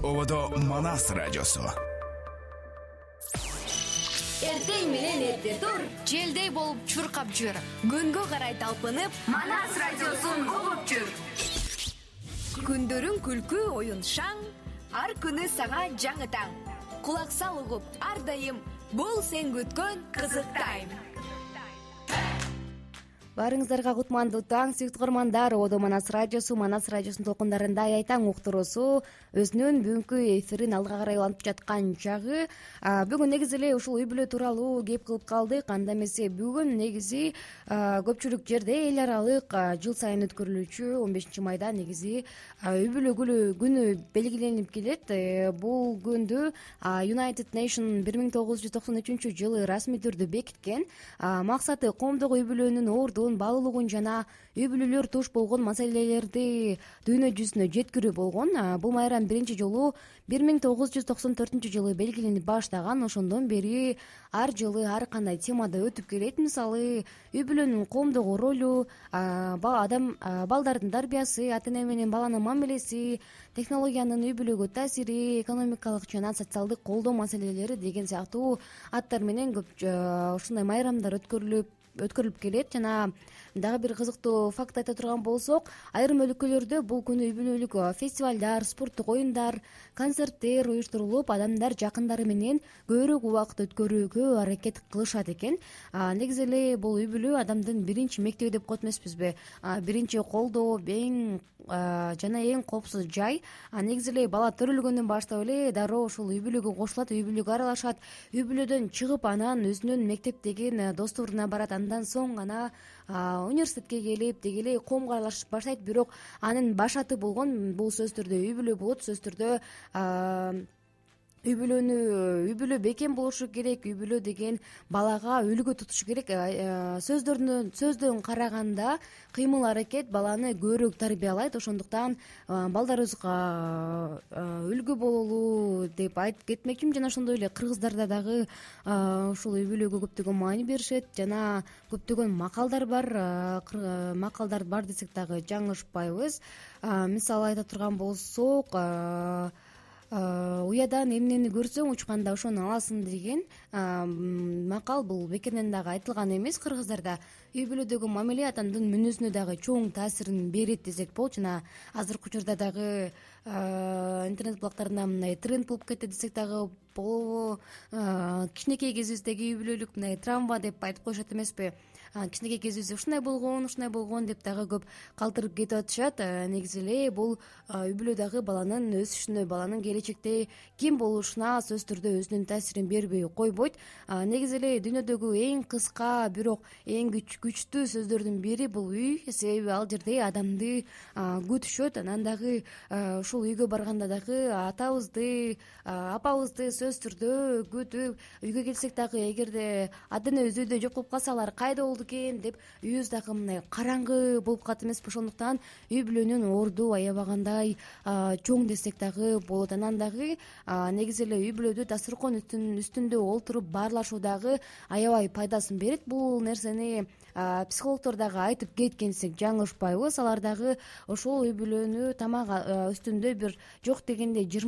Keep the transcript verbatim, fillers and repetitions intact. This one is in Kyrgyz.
Ободо Манас радиосу. Эртең менен эрте тур, желдей болуп чуркап жүр. Күнгө карай талпынып, Манас радиосун угуп жүр. Күндөрүң күлкү, оюн шаң, ар күнү сага жаңы таң. Кулак сал угуп, ар дайым бул сен күткөн кызык тайм. Баарыңыздарга кутмандуу таң, сүйүктүү угармандар. Ободо Манас радиосу, Манас радиосунун толкундарында Ай таң уктуруусу өзүнүн бүгүнкү эфирин алга карай улантып жаткан чагы. Бүгүн негизи эле ушул үй бүлө тууралуу кеп кылып калдык. Анда эмесе бүгүн негизи көпчүлүк жерде эл аралык жыл сайын өткөрүлүүчү он бешинчи майда негизи үй бүлө күнү белгиленип келет. Бул күндү United Nation бир миң тогуз жүз токсон үчүнчү жылы расмий түрдө бекиткен. Максаты коомдогу үй бүлөнүн ордун, баалуулугун жана үй бүлөлөр туш болгон маселелерди дүйнө жүзүнө жеткирүү болгон. Бул майрам биринчи жолу бир миң тогуз жүз токсон төртүнчү жылы белгиленип баштаган. Ошондон бери ар жылы ар кандай темада өтүп келет. Мисалы, үй бүлөнүн коомдогу ролу, адам балдардын тарбиясы, ата эне менен баланын мамилеси, технологиянын үй бүлөгө таасири, экономикалык жана социалдык колдоо маселелери деген сыяктуу аттар менен көп ушундай майрамдар өткөрүлүп өткөрүлүп келет. Жана дагы бир кызыктуу факт айта турган болсок, айрым өлкөлөрдө бул күнү үй бүлөлүк фестивалдар, спорттук оюндар, концерттер уюштурулуп, адамдар жакындары менен көбүрөөк убакыт өткөрүүгө аракет кылышат экен. Негизи эле бул үй бүлө адамдын биринчи мектеби деп коет эмеспизби? Биринчи колдоо, эң жана эң коопсуз жай. Негизи эле бала төрөлгөндөн баштап эле дароо ушул үй бүлөгө кошулат, үй бүлөгө аралашат. Үй бүлөдөн чыгып анан өзүнүн мектептеги досторуна барат. Андан соң гана университетке келип деги эле коомго аралашып баштайт. Бирок анын башаты болгон бул сөзсүз түрдө үй бүлө болот. Сөзсүз түрдө үй бүлөнү үй бүлө бекем болушу керек. Үй бүлө деген балага үлгү тутушу керек. Сөздөрдөн сөздөн караганда кыймыл аракет баланы көбүрөөк тарбиялайт. Ошондуктан балдарыбызга үлгү бололу деп айтып кетмекчимин. Жана ошондой эле кыргыздарда дагы ушул үй бүлөгө көптөгөн маани беришет. Жана көптөгөн макалдар бар. Макалдар бар десек дагы жаңылышпайбыз. Мисалы айта турган болсок, уядан эмнени көрсөң учканда ошону аласың деген макал бул бекерден дагы айтылган эмес. Кыргыздарда үй бүлөдөгү мамиле адамдын мүнөзүнө дагы чоң таасирин берет десек болот. Жана азыркы учурда дагы интернет булактарында мындай тренд болуп кетти десек дагы болобу. Кичинекей кезибиздеги үй бүлөлүк мындай травма деп айтып коюшат эмеспи? Кичинекей кезибизде ушундай болгон, ушундай болгон деп дагы көп калтырып кетип атышат. Негизи эле бул үй бүлө дагы баланын өсүшүнө, баланын келечекте ким болушуна сөзсүз түрдө өзүнүн таасирин бербей койбойт. Негизи эле дүйнөдөгү эң кыска, бирок эң күчтүү сөздөрдүн бири бул үй. Себеби ал жерде адамды күтүшөт. Анан дагы ушул үйгө барганда дагы атабызды, апабызды сөзсүз түрдө күтүп, үйгө келсек дагы эгерде ата энебиз үйдө жок болуп калса, алар кайда болду экен деп үйүбүз дагы мындай караңгы болуп калат эмеспи? Ошондуктан үй бүлөнүн орду аябагандай чоң десек дагы болот. Анан дагы негизи эле үй бүлөдө дасторкон үстүндө олтуруп баарлашуу дагы аябай пайдасын берет. Бул нерсени психологдор дагы айтып кеткен десек жаңылышпайбыз. Алар дагы ошол үй бүлөнү тамак үстүндө бир жок дегенде